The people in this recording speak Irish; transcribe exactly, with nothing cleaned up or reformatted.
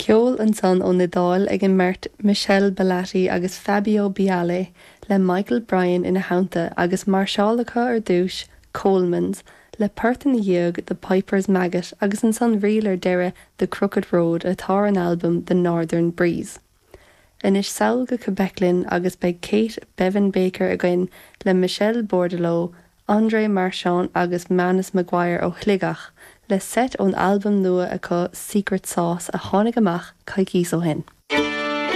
Ceol ansan ón Iodáil ag an mbeirt Michele Bellati agus Fabio Biale le Michael Bryan ina theannta agus máirseáil acu ar dtús Coleman's le port ina dhiaidh The Piper's Maggot agus ansan ríl ar deireadh The Crooked Road atá ar an albam The Northern Breeze. Anois sall go Quebec linn agus beidh Kate Bevan Baker againn le Michel Bordeleau, André Marchand agus Manus McGuire ó Shligeach le seit ón albam nua acu Secret Sauce a tháinig amach coicís ó shin.